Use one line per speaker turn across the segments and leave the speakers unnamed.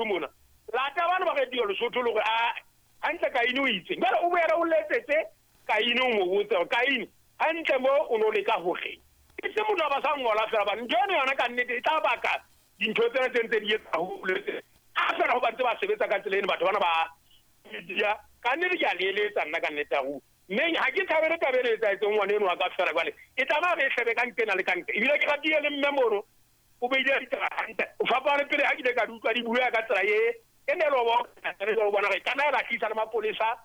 Mona lata bana ba radio Lesotho le gore a hantle Kaine o itseng. Jwale o boele o letsetse Kaine, o mo botse hore Kaine hantle mo o no leka horeng. E se motho a ba sa ngola fela bane ntho eno yona ka nnete e tla baka dintho tsena tse ntse di etsa haholo. Ha fela ho ba ntse ba sebetsa ka tsela eno batho bana ba media, ka nnete ke a le eletsa nna ka nnete ya ruri. Mme ha ke thabele taba ena e etsahetseng ngwana eno wa ka fela jwale e tlameha re e hlebe ka nqena le ka nqe. Ebile ke ratile le mme mono o beile ditaba hantle. O fapane pele ha ke ile ka di utlwa di bua ka tsela e e ne lobo o bona gore kana e lahlisa le mapolesa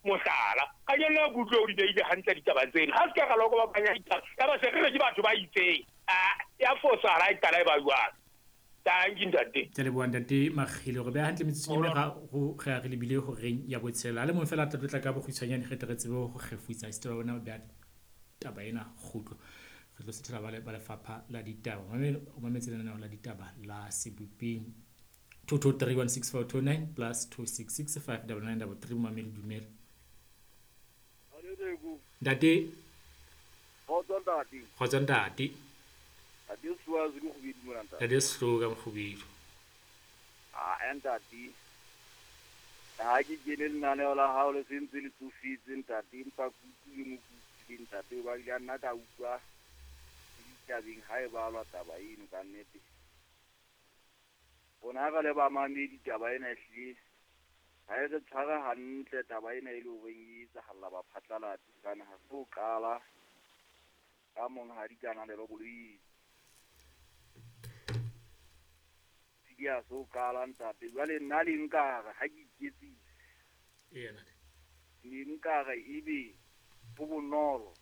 mohlala. Ka jeno ke utlwe o di beile hantle ditaba tsena. Ha se ka ra loko ba banya ditaba. Ya ba se re re ke batho ba itseng. A ya fosahala e qala e ba jwalo. Thank you ntate.
Ke leboha ntate Makgile gore beha hantle metsotso e meraro ge a re lebile horeng ya botshelela. A le mong fela a tla tlotla ka bokgutshwanyane ge tle re tsebe go kgefutsa esita ba bona beha taba ena kgutlo. Re tlo sethela ba lefapha la ditaba. O mametse lenaneo la ditaba la Sebopeng. 22316429 plus 266599933 momamedi dumela. Ntate.
Kgotso ntate.
Kgotso ntate.
Ntate Swazi ke Kgubedu mona ntate.
Ntate Sehloho ka Mokgubedu.
Ah ntate. Ha ke kene lenaneo la hao le sentse le tsofetse ntate, empa ke utlwile mo ke utlwileng ntate, ba ile nna ka utlwa ditabeng ha e balwa taba eno ka nnete. Rona re le bamamedi taba ena ehlile ha e re tshware hantle taba ena e le horeng e etsahalla baphatlalatsi hobane ha se ho qala ka monghadi Kananelo Boloi. Ya so qala ntate. Jwale nna le nkare ha ke iketsitse.
Eya ntate.
Ne nkare ebe ho bonolo.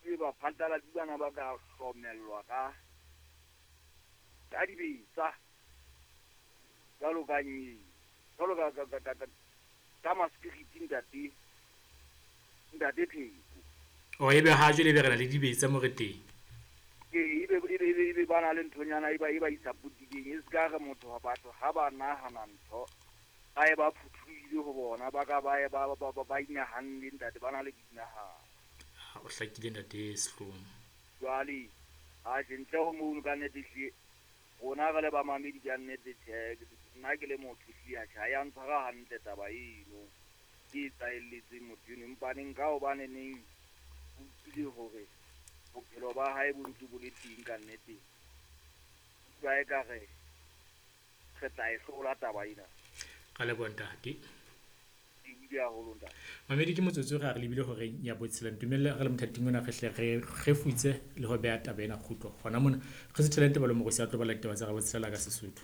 Ebe baphatlalatsi bana ba ka hlomellwa ka dibetsa. Jwalo ka nyeng. Jwalo ka ma-security ntate. Ntate Pheko.
O ebe ha jwale ebe re na le dibetsa mo re teng.
Ebe ba na le nthonyana e ba isapotileng. E se ka re motho wa batho ha ba nahana ntho ba e ba phuthulohile ho bona, ba ka ba e ba inahanne ntate, ba na le boinahano.
O hlakile ntate Sehloho.
Jwale atjhe ntle ho mono ka nnete hle rona re le bamamedi ka nnete tjhe, nna ke le motho hle atjhe ha ya ntshwara hantle taba eno ke e etsahelletseng motho eno. Empa neng ka hobane neng utlwile hore bophelo ba hae bo ntse bo le teng ka nnete, utlwa ekare re tla e hlola taba ena.
Ka leboha ntate. Mamedi ke motsotso re a re lebile horeng ya botshela. Ntumelle re le mothating ona re hle re kgefutse le ho beha taba ena kgutlo. Hona mona re se thelente ba le morosi a tlo bala ditaba tsa Rabotshelela ka Sesotho.